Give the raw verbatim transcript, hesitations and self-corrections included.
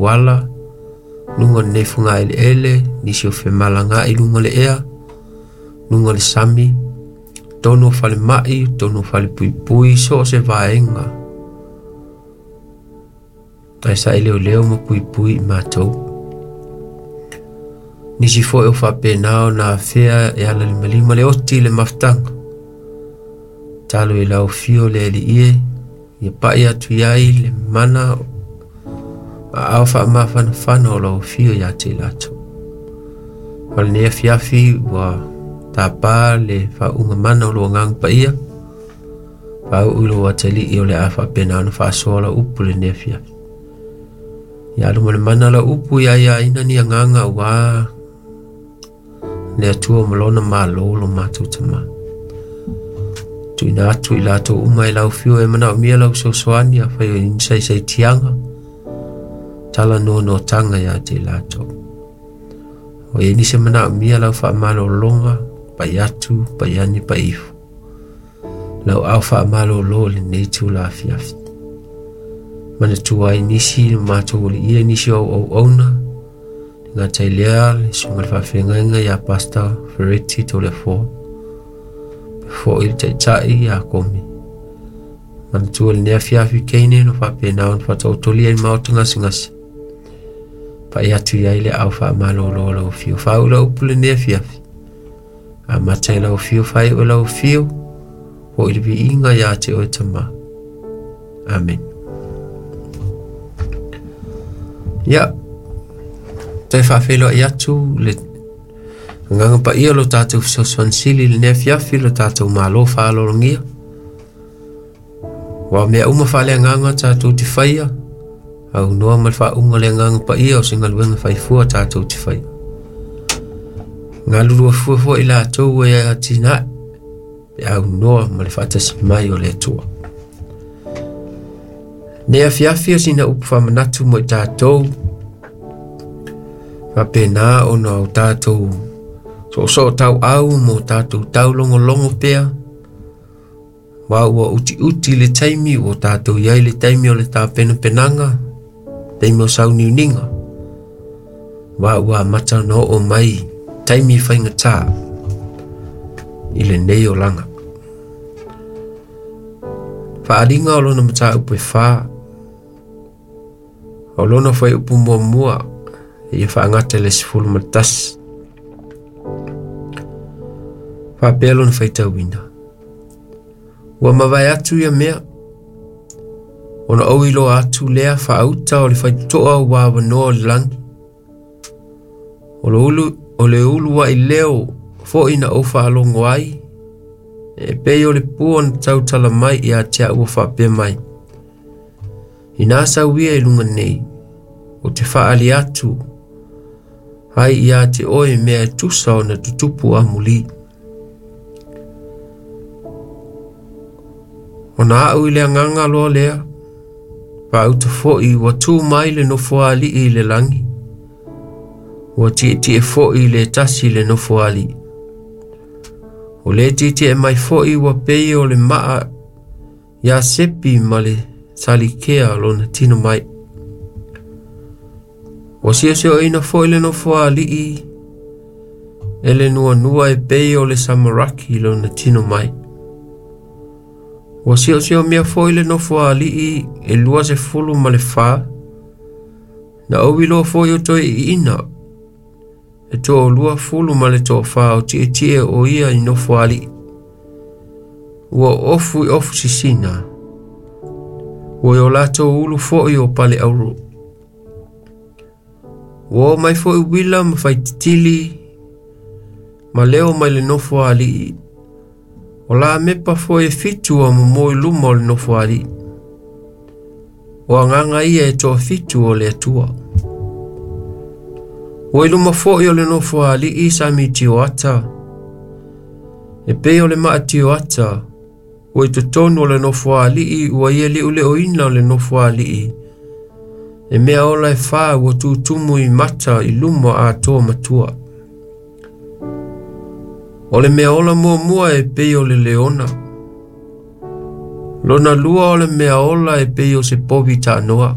auala, luga o lenei fugaeleele, nisi o femalagaai i luga o le ea, luga o le sami, totonu o falemai, totonu o falepuipui, so o se vaega. Ae saeleoleo ma puipui i matou. Nisi foi o faapena ona afea e ala limalima le oti i le mafutaga. Talo i lau afio le Alii e, ia pai atu i ai le mana aao faamafanafana o lau afio ia te i latou. O lenei afiafi ua tapa le faauuga mana o lou agaga paia, faauu i lou atalii o le a faapena ona faasoa lau upu lenei afiafi. Ia alu ma le mana lau upu ia aiaina ni agaga aua le Atua ma lona malo lo matou Tamā. Tuuina atu i latou uma e lau afio e manaomia lau fesoasoani afai o i ni saisaitiaga, tala noanoataga ia te i latou. O i ai nisi e manaomia lau faamalologa, pai atu, pai ane, pai ifo. Lau ao faamalolo lenei itula afiafi. Manatua ai nisi o matou aliia, nisi o auauauna, le gata i lea le susuga i le faafeagaiga ia Pastor Fereti Toleafoa, foi le taitai ia Komi. Manatua lenei afiafi Kane no faapena ona faataotolia i le maota gasegase. Pai atu i ai le ao faamalolo o lau afio. Faauu lau upu lenei afiafi. Amata i lau afio, faaiu i lau afio, foi le viiga ia te oe Tamā. Amen. Ia, toe faafeiloai atu le agaga paia o lo tatou fesoasoani sili i lenei afiafi, lo tatou malo faalologia. Ua mea uma faaleagaga tatou te faia, aunoa ma le faauuga o le agaga paia o se galuega faifua tatou te faia. Galulua fua foi i latou e atinae, pe aunoa ma le faatasi mai o le Atua. Nei afiafi o sina upu faamanatu mo i tatou, faapena ona o tatou soosoo tauau mo tatou taulogologo pea, wa ua utiuti le taimi, ua tatou i ai le taimi o le tapenapenaga, taimi o sauniuniga, wa ua amata ona oo mai taimi faigata i lenei olaga. Faaaliga o lona mataupu e fa, o lona fuaiupu muamua ia faagata i le sefulu ma le tasi. Faapea lona faitauina. Ua mavae atu ia mea, ona ou iloa atu lea faauta o le faitotoa ua avanoa o le lagi. O le ulu, o le uluai leo foi na ou faalogo ai, e pei o le pua na tautala mai ia te au ua faapea mai. Ina sau ia i luga nei, o te faali atu, ai ia te oe mea e tusa ona tutupu amuli. Ona au i le agaga loa lea, faauta foi ua tu mai le nofoalii i le lagi, ua tietie foi le tasi le nofoalii. O le tietie mai foi ua pei o le maa ia sepi ma le salikea lona tino mai. Ua siosioina foi le nofoalii e le nuanua e pei o le samaraki lona tino mai. Ua siosiomia foi le nofoalii e lua sefulu ma le fa, na ou iloa foi o toe iina, e toalua fulu ma le toafa o tietie o ia i nofoalii. Ua ofu i ofu sisina, ua i o latou ulu foi o pale auro. Ua o mai foi uila ma faititili, ma leo mai le nofoalii. O la mepa foi e fitu a momo i luma o le nofoalii. O agaga ia e toafitu o le Atua. Ua i luma foi o le nofoalii sami tioata. E pei o le maa tioata, ua i totonu o le nofoalii ua ia liuleoina o le nofoalii. E mea ola e fa ua tutumu i mata i luma atoa matua. O le mea ola muamua e pei o le leona. Lona lua o le mea ola e pei o se povi taanoa.